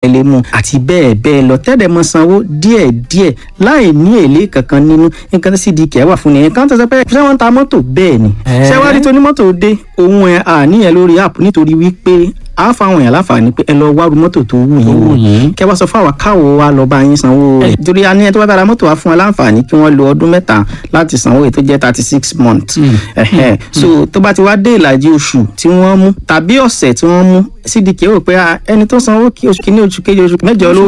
Ẹ lè mú àti bẹ́ẹ̀ bẹ́ẹ̀ lọ, tẹ́lẹ̀ mọ sanwó díẹ̀ díẹ̀ láì ní èlé kankan nínú. Nǹkan tí CDK wà fún nìyẹn. Kan tó sọ pé ṣé wọ́n ń ta mọ́tò bẹ́ẹ̀ ni, ṣé wàá rí tonímọ́tò dé òun ẹ̀ àníyàn lórí app, nítorí wípé a fáwọn èèyàn láǹfààní pé ẹ lọ wá ru mọ́tò tó wù yín wò, kẹ wá sọ fún àwa káwo wa lọ bá yín sanwó rẹ̀, torí a ní ẹni tó bá bá ra mọ́tò wa fún wa láǹfààní kí wọ́n lo ọdún 3 láti sanwó èyí tó jẹ́ 36 months. So tó bá ti wá dé ìlàjì oṣù tí wọ́n mú tàbí ọ̀sẹ̀ tí wọ́n mú, CDK rò pé ẹni tó sanwó kí oṣù kìíní, oṣù kejì, oṣù mẹ́jọ ló